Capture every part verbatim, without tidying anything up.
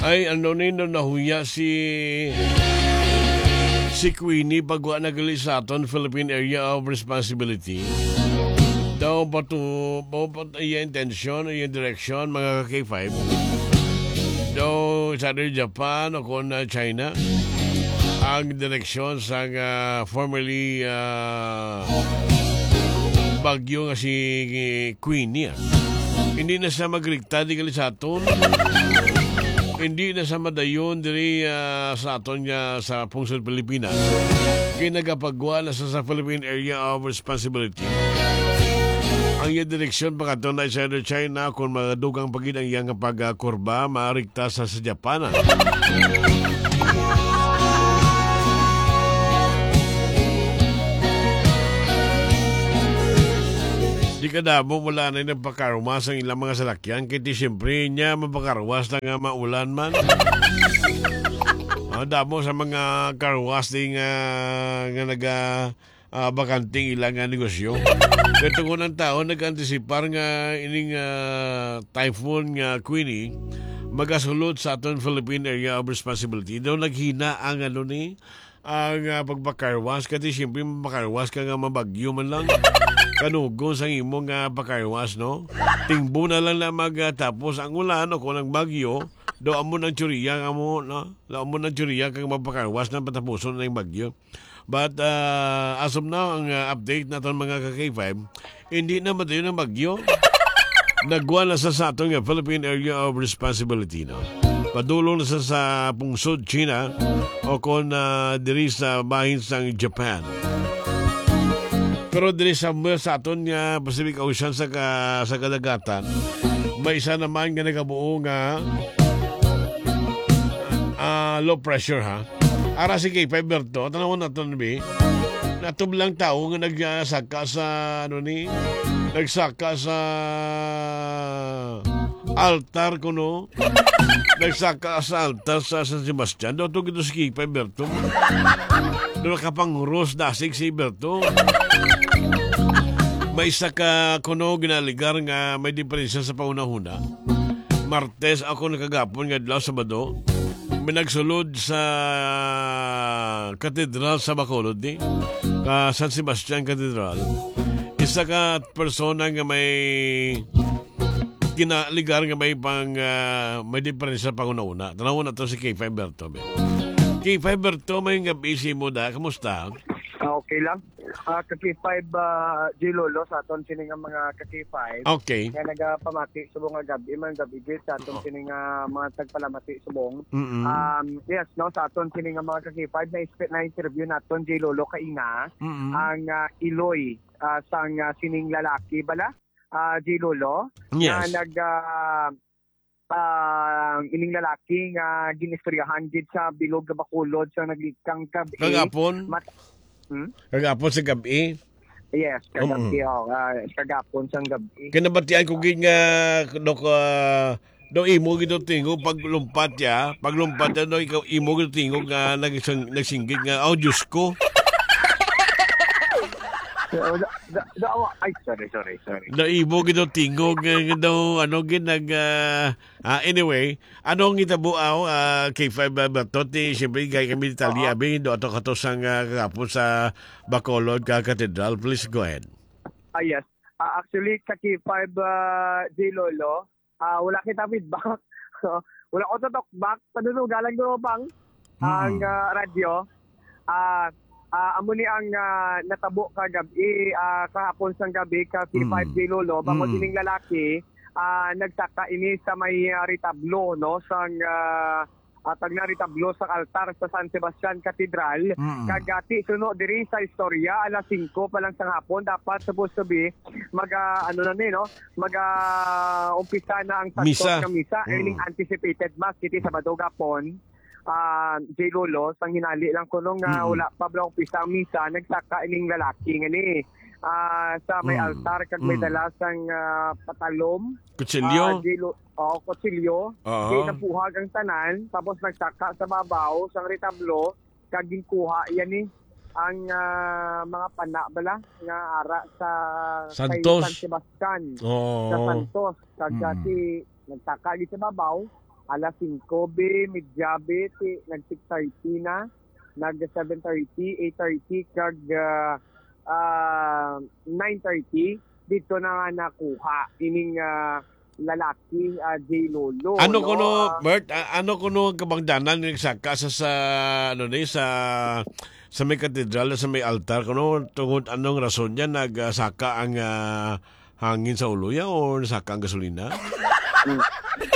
Ay, ano ni, no, nahuya si, si Queenie pag wa nagali sa aton Philippine Area of Responsibility. Daw batu-, ba-, ba-, iya intensyon, iya direksyon, mga ka-K five. Daw sa Japan o kung, ah, China, ang direksyon sa, ah, formerly, ah, bagyo nga si Queenie, ah. Hindi na siya magrikta di gali sa aton. Hindi na siya madayon diri, ah, sa aton nga sa pungsod Pilipinas. Kay nagapagwa na sa, sa Philippine Area of Responsibility. Ang iya direksyon pakadto na sa China, kung madugang pa gid ang iyang pagkurba, maarikta sa, sa Japan. Di kadamo, wala na nagpakarwas ang ilang mga salakyan. Kay di siyempre niya mapakarwas na nga maulan man. Ah, damo sa mga karwas di nga, nga naga, ah, bakanting ilang nga negosyo. Pero kung ang tao nag-antisipar nga ining, ah, typhoon nga Queenie magasulod sa aton Philippine Area of Responsibility, daw naghina ang ano ni, ang, ah, pagpakarwas, kasi siyempre mapakarwas ka nga mabagyo man lang. Kanugon sang imo nga pakarwas, no? Tingbo na lang na magtapos ang ulan o kung ang bagyo, do amo nang tsuriya nga mo, no? Do amo nang tsuriya kang mapakarwas na patapuson na yung bagyo. But, ah, as of now, ang, ah, update naton mga ka-K five, hindi na madayon ang bagyo. Nagwa na sa, sa aton nga Philippine Area of Responsibility, no? Padulong na sa, sa pungsod China o kon, ah, diri sa bahin sang Japan. Pero diri sa, sa aton nga Pacific Ocean sa ka-, sa kadagatan, may isa naman nga nagabuo nga, ah, low pressure, ha. Ara si K five Berto, tanawon naton, bi. Natublang tawo nga nagsaka sa, ano ni, nagsaka sa altar kuno. Nagsaka sa altar sa San Sebastian. Daw to gito si K five Berto. Daw nakapangros dasig si Berto. May isa ka kuno ginaligar nga may diferensya sa panghunahuna. Martes ako nakagapon nga adlaw, Sabado, may nagsulod sa katedral sa Bacolod, ni, ka San Sebastian Cathedral. Isa ka persona nga may kinaligar nga may pang, ah, may diferensya panghunahuna. Tanawon nato si K five Berto, be. K five Berto, may gabi si mo da. Kamusta? Ah, okay lang. Ah, ka K five, ah, J Lolo, sa aton sini nga mga ka K five. Okay. Nga nagapamati subong nga gabi, man gabi gid sa aton Oo. sini nga mga tagpalamati subong. Mm-mm. Um, yes, no, sa aton sini nga mga ka K five, na, na-interview naton, J Lolo, kaina, Mm-mm. ang, ah, iloy, ah, sang, ah, sining lalaki bala, ah, J Lolo, Yes. na nag, ah, ah, ining lalaki nga ginistoryahan gid sa bilog nga Bacolod sa naglikang gabi. Kagapon? Mat-, hmm? Kagapon sa gabi? Yes, kagabi, Mm. oh, ah, kagapon sang gabi. Kinabatian ko gid nga, Dok, ah, do imo gid do tingog paglumpat ya, paglumpat ya, do ikaw imo gid do tingog nga nagsing-, nagsinggit nga, "Oh, Diyos ko." So, da-, da-, da-, ay, sorry, sorry, sorry. Do imo gid do tingog nga, nga daw, ano, gid nag, ah, ah, anyway, ano ang hitabo, ah, K five, ah, Berto? Ti, siyempre, gay kami detalye, Oo. abi, do ato kato sang, ah, kagapon sa Bacolod ka Cathedral. Please go ahead. Ah, yes. Ah, actually, ka K five, ah, J Lolo, ah, wala kita feedback. So, wala ko to talk back. Padunugalan ko pang Mm. ang, ah, radyo. Ah, ah, amo ni ang, ah, natabo kagabi, ah, kahapon sang gabi ka K five Mm. J Lolo. Bangod Mm. ining lalaki, ah, nagsaka ini sa may, ah, retablo, no? Sang, ah, ah, tag na retablo sa altar sa San Sebastian Cathedral. Mm. Kag, ah, ti suno diri sa istorya, alas singko pa lang sa hapon, dapat supposed to be mag, ah, ano na ni, no? Mag, ah, umpisa na ang Santos Misa. nga misa, Mm. early anticipated mass, kiti Sabado gapon. Ah, J Lolo, sang hinali lang kuno nga Mm. wala pa bala umpisa ang misa, nagsaka ining lalaki nga ni, ah, sa may Mm. altar kag may Mm. dala sang, ah, patalom. Kutsilyo? Ah, J Lo-, oh, kutsilyo. Oo. Di napuhag ang tanan, tapos nagsaka sa babaw sang retablo, kag ginkuha yan ni ang, ah, mga pana bala nga ara sa kay Santos. San Sebastian, Oo. sa Santos. Kag Mm. dati nagsaka gid sa babaw, alas singko bi, medya bi, ti, nag six thirty na, nag seven thirty, eight thirty, kag, ah, ah, nine thirty, dito na nga nakuha ining, ah, lalaki, ah, J Lolo, Ano no? kuno, Ah, Bert? A-, ano kuno ang kabangdanan nga nagsaka sa, sa, ano ni, sa, sa may katedral, sa may altar? Kuno, tungod anong rason niya nagsaka ang, ah, hangin sa ulo niya o nasaka ang gasolina? Mm.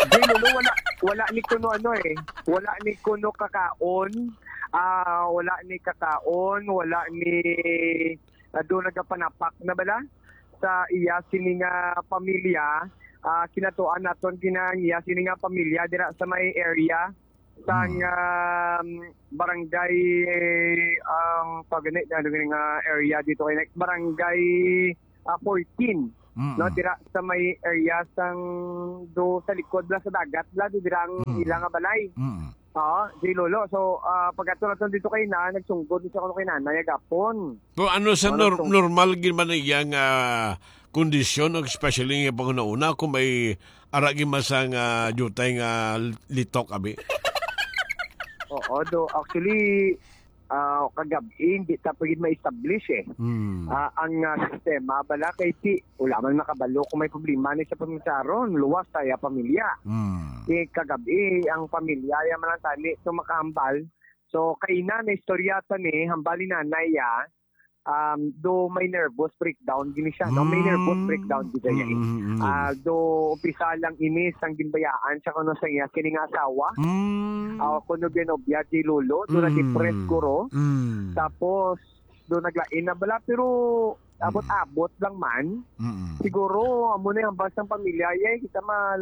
J Lolo, wala, wala ni kuno ano eh. Wala ni kuno kakaon. Ah, wala ni kakaon, wala ni, ah, do nagapanapak na bala sa iya sini nga pamilya. Ah, kinatuan naton kinang iya sini nga pamilya dira sa may area sang, Hmm. um, barangay, ang pagani, ano gani nga area dito kay, like, barangay, ah, fourteen, Mm. no, dira sa may area sang do sa likod bala sa dagat bala, do dira ang Mm. ila nga balay. Mm. Oo, J Lolo. So, ah, pag-ato naton dito kay na, nagsunggod siya kuno kay nanay agapon. Pero ano sa Ano nor-, tong normal gid man iya nga kondisyon, especially nga panghunahuna kung may ara gid man sang, ah, diutay nga litok, abi? Oo, do, actually, ah, kagab-i, hindi ta pa gid ma-establish eh. Hmm. Ah, ang, ah, sistema bala kay ti, wala man makabalo kung may problema ni sa pamilya ron, luwas sa iya pamilya. Hmm. Ti kagab-i, ang pamilya, iya man ang tani, so makahambal. So, kaina na istorya ta ni, hambal ni nanay, ah, um, do may nervous breakdown gini siya, no? May nervous Hmm. breakdown gid siya, eh. Mm, mm, mm. Ah, do umpisa lang ini sang ginbayaan siya kuno sa iya kini nga asawa. Mm. Ah, kuno binobya di lolo, do Mm. na-depress guro. Mm. Tapos, do naglain na bala, pero abot-abot lang man. Mm. Siguro, amo na yung hambal sang pamilya, eh. Kita ma-,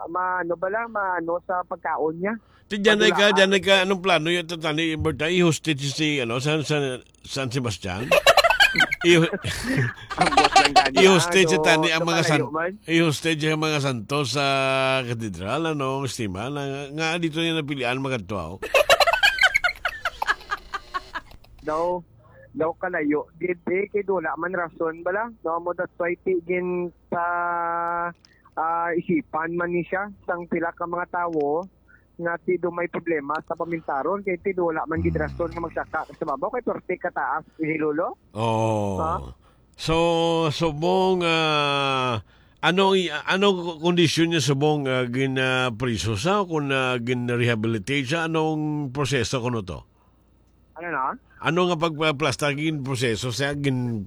ma-, ano bala, maano sa pagkaon niya. Ti, diyan ay ka, Padulaan. diyan ay ka, anong plano yung tatani, Bert, ay i-hostage si, ano, San, San, San Sebastian? I-, Ambot lang gani, i-hostage ano, sa tani ang mga san-, malayo man. i-hostage ang mga santos sa katedral, ano, estima, na, nga dito niya napilian magkadto, oh. Daw, daw kalayo. Gid, eh, kay wala man rason bala. No, mo that's why ti gin sa, ah, isipan man ni siya sang pila ka mga tawo nga ti do may problema sa pamintaron, kay ti do wala man gid Hmm. rason nga magsaka sa babaw kay perti kataas ni Lolo. Oh. Ha? So, subong, ah, ano i-, ano kondisyon niya subong, ah, gin, ah, priso sa, kung, ah, gin rehabilitate siya, anong proseso kuno to? Ano na? Ano nga pagpaplastar, gin proseso siya, gin,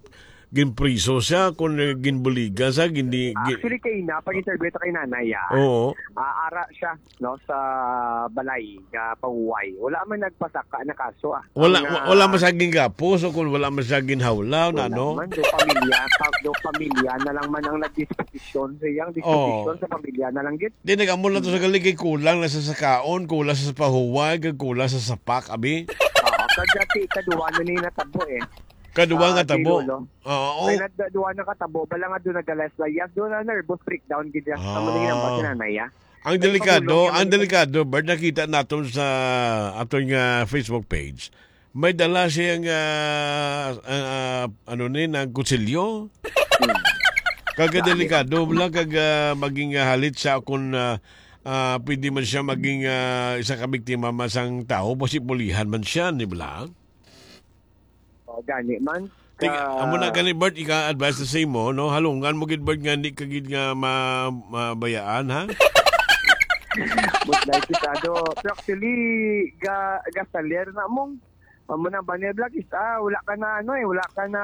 gin priso siya, kung, eh, gin buligan siya, gin di, gin Actually, kay na, pag-interview ito kay nanay, ah. Oo. Ah, ara siya, no, sa balay nga pahuway. Wala man nagpasaka na kaso, ah. Wala, Ang, wa-, ah, wala man siya gingapos o kung wala man siya ginhawlaw na, wala no? man. Do pamilya, pa-, do pamilya na lang man ang nagdisposisyon sa iyang Oo. disposisyon sa pamilya na lang gid. Di, nag-amo lang to sa Mm. galing kay kulang na sa sakaon, kulang sa pahuway, kag kulang sa sapak, abi. Oo, kag dati, kaduwa na ni natabo, eh. Kaduwa Ah, nga tabo. Lolo. Oo. Kay na, duwa na katabo, bala nga doon nagalayas-layas, doon na nervous breakdown gid siya. Amo na ginambag Ah. si nanay, ah. Ang Kay delikado, pagulong niya ang man delikado, Bert, nakita naton sa aton nga Facebook page. May dala siya nga, ah, ah, ano ni, nang kutsilyo. Hmm. Kag Dali. delikado lang, kag, ah, maging, ah, halit siya kung, ah, ah, pwede man siya maging, ah, isa ka biktima man sang tao, basi pulihan man siya, di ba? O, gani man. Tig-, Ka- amo na gani, Bert, ika-advise na sa imo, no? Halungan mo gid, Bert, nga di ka gid nga ma-, mabayaan, ha? But like kita do. Pero actually, ga-, gasaler na mong. Amo na ba ni Black is, ah, wala ka na, ano eh, wala ka na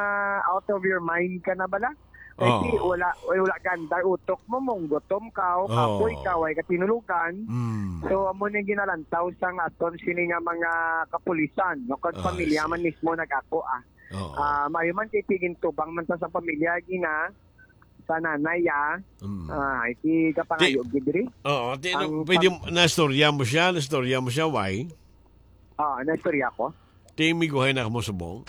out of your mind ka na bala? Kay Oo. ti, wala, eh, wala gandar utok mo, mong gutom ka, o Oo. kapoy ka, way ka tinulugan. Mm. So, amo na yung ginalantaw sang aton sini nga mga kapulisan, no? Kag Ah, pamilya sige. man mismo nag-ako, ah. Oo. Ah, maayo man kay tigintubang man ta sa pamilya, gina, sa nanay, ah. Mm. Ah, iti kapangayo Ti-, gid diri. Oo, ti-, Ang pwede pam- na istorya mo siya, na istorya mo siya, why? Ah, na istorya ko. Ti, miguhay na mo subong.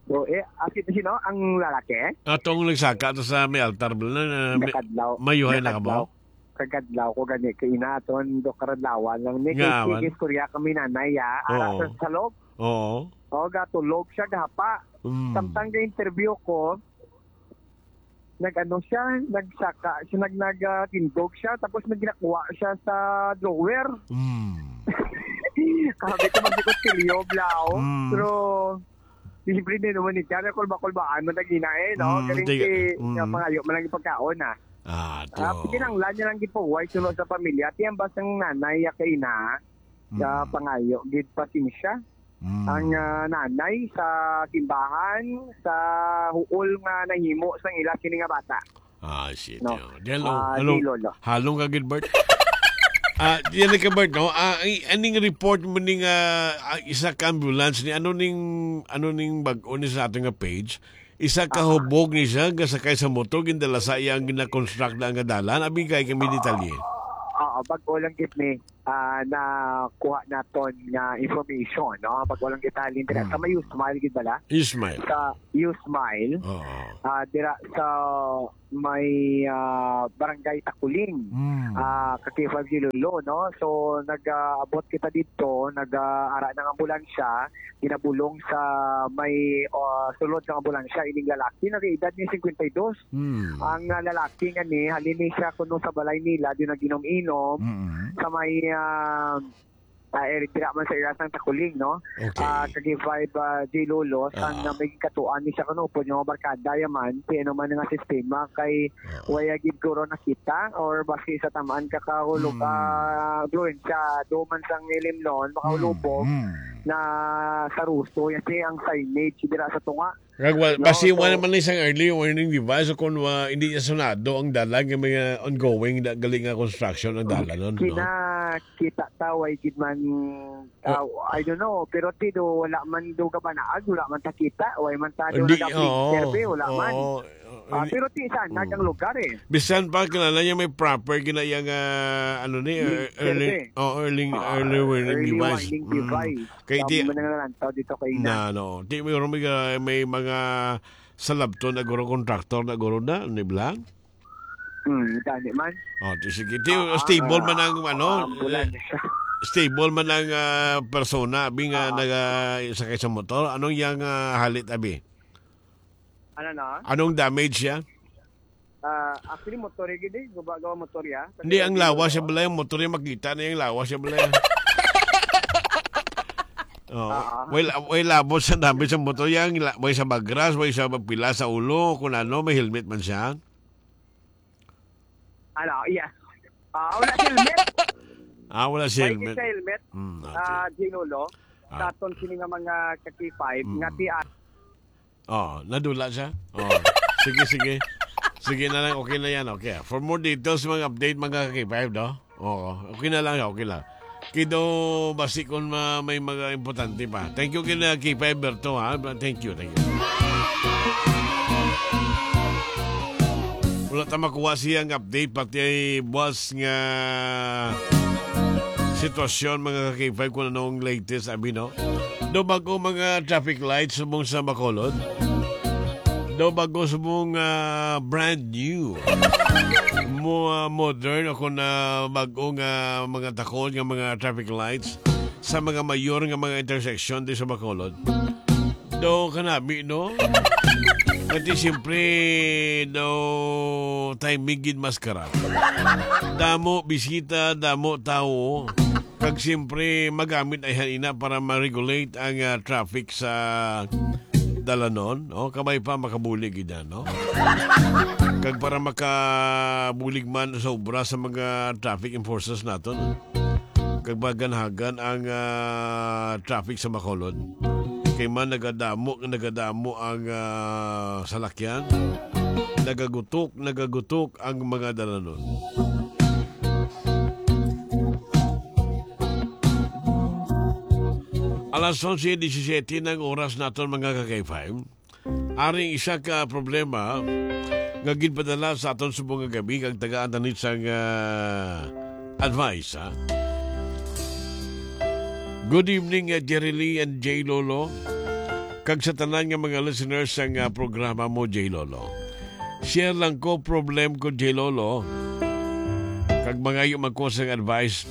So, eh, ah, si-, sino ang lalaki? Atong nagsaka to sa may altar, bala na, na, may, Nakadlaw. mayuhay na ka mo? Nakadlaw. Kagadlaw ko gani, kay inaton, do karadlawan lang ni, Nga, kay awan. sige, istorya kami nanay, ah. Ara Oo. sa, sa loob. Oo. O, gatulog siya, gahapa. Mm. Samtang ga-interview ko, nag-ano siya, nagsaka siya, nag-, nag, ah, tindog siya, tapos may ginakuha siya sa drawer. Mm. Kahabi ko, magkikutsilyo, bla, oh. Mm. Pero, siyempre, di naman ni Jan, kulba-kulbaan man tagina eh, no? Mm, Galing di-, si, mm. nga pangayo man lang yung pagkaon, ah. Ah, Ah, to. Kinahanglan niya lang gipahuway suno sa pamilya. Ti ang basang nanay ya kay ina, sa Mm. pangayo, gid pasensya. Mm. Ang, ah, nanay sa simbahan, sa huol nga nahimo sang ila kini nga bata. Ah, shit, No. yun. Di, halong, Ah, halong, di, Lolo. halong ka, Gilbert. Ah, yan ka, Bert, no? Ah, ay, aning report mo ning, ah, ah, isa ka ambulance ni, ano ning, ano ning bag-o ni sa ating nga page? Isa ka Ah. hubog ni siya, nga sakay sa motor, gindala sa iya ang gina-construct na nga dalan. Abi kay kami detalye. Oo, bag-o lang gid ni, ah, nakuha naton nga information, no? Bag-o lang gid halin dira. Hmm. Sa may Usmile gid bala? Ismail. Sa Usmile. Oo. Ah, dira sa may, ah, Barangay Takuling. Hmm. Ah, ka K five Gilolo, no? So, nag-aabot kita dito, nag-aara ng ambulansya, ginabulong sa may, ah, sulod ng ambulansya, ining lalaki, nag-edad niya cinquenta y dos. Hmm. Ang, ah, lalaki nga ni, halin ni siya kuno sa balay nila, di nag-inom-inom, Mm. sa may, ah, ah, area dira man sa area sang Takuling, no? Okay. Ah, ka K five, ah, J Lolo, sang, Ah. ah, may katuan ni siya kuno, pwede mga barkada, yaman, si ano man nga sistema, kay Ah. waya gid guro nakita, or basi sa tamaan ka kahulog, Mm. ah, influensya, do man sang ilim noon, makahulubog Mm. Mm. na sa ruso, yan si ang signage dira sa tunga. Kag wa-, No, basi so wala man lang isang early warning device o kung wa-, hindi niya sunado ang dalan, nga may, ah, ongoing na, gali nga construction ang dalan nun, no? Kinakita ta, way gid man, Ah. ah, I don't know, pero ti do, wala man do kabanaag, wala man ta kita, way man ta do Hindi, nag-update oo, survey, wala man. oo, Ah, hindi. pero ti, saan, Mm. nagang lugar eh. Bisan pa, kilala niya may proper, kinaya nga, ano ni, Yung er-, early, survey. oh, early, Ah, early warning early device. warning Mm. device. Kay Dami di, man ang nalantaw dito kay na, na. no. Di, may, may, may mga salabton na guro, contractor na guro na, ni Blang? Hmm, gani man. Oh, di, sige. Di, Ah, stable ah, man ang, ano, ah, ambulansya. eh, stable man ang, ah, persona, abi nga Ah. naga-, sakay sa motor. Anong yang, ah, halit, abi? Ano na? Anong damage siya? Ah, actually, motor ya gid eh. Guba-, gawa motor ya. Kasi Hindi, ang hindi lawas mo siya balay, ang motor niya makita na yung lawas siya balay. Oh, Ah, ah. way la-, way labot sa damage sa motor niya, ang la-, way sa bagras, way sa pila sa ulo, kung ano, may helmet man siya. Ano, yes. Ah, wala sa helmet. Ah, wala sa May helmet. sa helmet, Hmm, okay. ah, Ginolo, Ah. sa aton sini nga mga ka K five, Mm. nga ti-, Oh, nadula siya? Oh. Sige, sige. Sige na lang, okay na yan. Okay. For more details, mga update, mga K five, no? Oo, okay na lang, okay lang. Kido, basi kung ma-, may mga importante pa. Thank you, kina K five Berto, ha? Thank you, thank you. Wala ta makuha siyang update, pati ay buwas nga sitwasyon, mga ka K five, kung anong latest, abi, no? Do bago mga traffic lights subong sa Bacolod. Do bago subong, ah, brand new. Mo, ah, modern o kung, ah, bago nga mga takod nga mga traffic lights sa mga mayor nga mga intersection di sa Bacolod. Do kanami, no? Pati siyempre, do timing gid mas karap. Damo bisita, damo tawo. Kag siyempre, magamit ay ina para ma-regulate ang, ah, traffic sa dalanon, no? Kabay pa makabulig gid na, no? Kag para makabulig man sa obra sa mga traffic enforcers naton, kag maganhagan ang, ah, traffic sa Bacolod. Kay man nagadamo, nagadamo ang, ah, salakyan, nagagutok, nagagutok ang mga dalanon. Alas onse disisete na ang oras naton, mga ka-K five. Aring isa ka problema nga ginpadala sa aton subong nga gabi kag tagaan ta ni sang, ah, advice, ha? Good evening, ah, Jerry Lee and J Lolo, kag sa tanan nga mga listeners sang, ah, programa mo, J Lolo. Share lang ko problem ko, J Lolo. Kag mangayo man ko sang advice.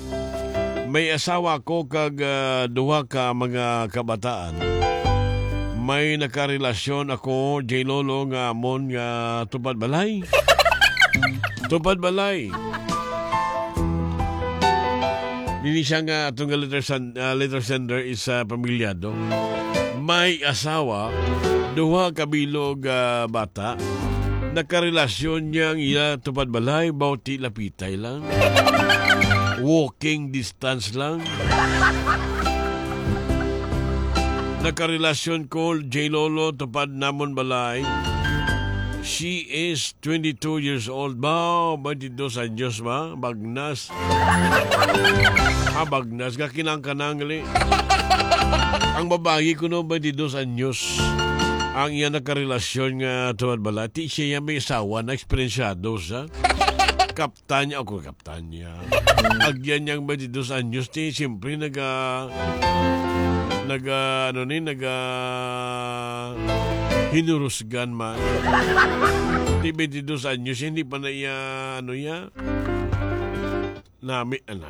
May asawa ko kag, ah, duha ka mga kabataan. May nakarelasyon ako, J Lolo, nga amon nga tupad balay. Tupad balay. Dili siya nga atong nga letter, san, ah, letter sender is, ah, pamilyado. May asawa, duha ka bilog, ah, bata. Nakarelasyon niya ang iya tupad balay, bauti lapitay lang. Walking distance lang. Nakarelasyon ko, J Lolo, tupad namon balay. She is twenty-two years old. Ba, twenty-two anyos ba? Bagnas. Ah, bagnas. Gakinang-kanang gali. Ang babayi ko no, twenty-two anyos. Ang iya nakarelasyon nga tupad balay. Ti siya may asawa na eksperensyado sa. Kap Tanya ako, Kap Tanya. Agyan niyang twenty-two anyos, ti, siyempre, naga, naga, ano ni, naga, hinurusgan man. Ti, twenty-two anyos, hindi pa na iya, ano iya, nami, ah, nami,